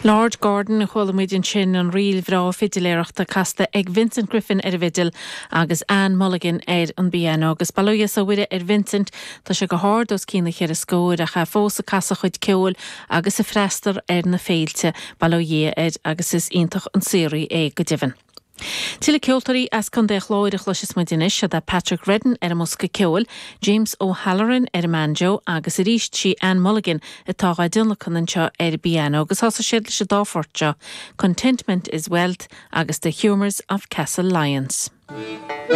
Lord Gordon a chuala muid ansin, an ríl bhreá fidiléireachta casta ag Vincent Griffin ar an bhfidil agus Anne Mulligan ar an bpianó. Agus bail ó Dhia 's ó Mhuire ar Vincent, tá sé go hard os cionn na cheithre scóir ach é fós ag casadh a chuid ceoil agus ag freastal ar na féilte. Bail ó Dhia air agus is iontach an saothraí é go deimhin. Tuilleadh ceoltóirí as Contae an Chláir a chloisfeas muid anois, siod é Patrick Redden ar an mbosca ceoil, James O'Halloran ar an mbanjo agus arís sí Anne Mulligan atá dhá dtionlacan anseo ar an bpianó agus thosaigh siad leis an dá phort seo, Contentment is Wealth agus The Humours of Castlelyons.